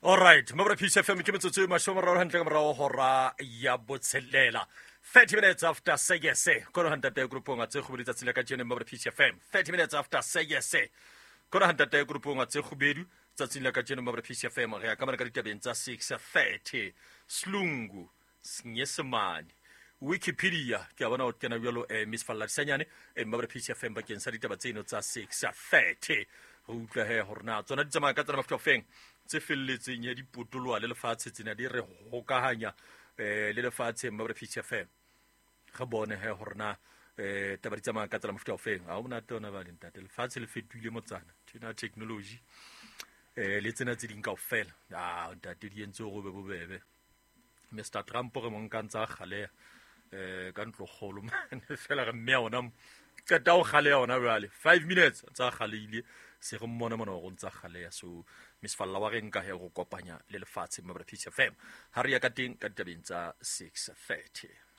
Alright, mabra Peace FM ke metsotso e 30 hantle ka morao hora ya botshelela. 30 minutes after seyese. Kono hantate grupong a tse kgubedu tsatsi la kajeno mabra Peace FM. 30 minutes after seyese. Kono hantate grupong a tse kgubedu tsatsing la kajeno mabra Peace FM. Re ya ka mona ka ditabeng tsa 6:30. Slungu Senyesemane. Wikipedia, ke a bona o kena bjalo eh, Miss Falladisanyane eh, Mmabra PCFM bakeng sa ditaba tseno tsa 6:30. Re utlwa he gore na tsona di tsamaya ka tsena mafuta feng tse felletseng ya dipotoloa le lefatshe tsena di re hokahanya eh, le lefatshe Mmabra PCFM. Re bone he gore na eh taba di tsamaya ka tsela mofuta ofeng ga o monate ona ba ntate lefatshe le fetohile motsana tjena technology eh le tsena tse ding kaofela ah ntate di entse gore be bobebe Mr Trump re mo nka ntse a galeya um ka ntlokgolo mane fela re mme ona qeta go galeya ona jale 5 minutes ntse a galeile se re mmone mona gore o ntse a galeya. So Miss Falla wa re nka he go kopanya le lefatshe Mabra Peace FM ha re ya ka teng ka ditabeng tsa 6:30.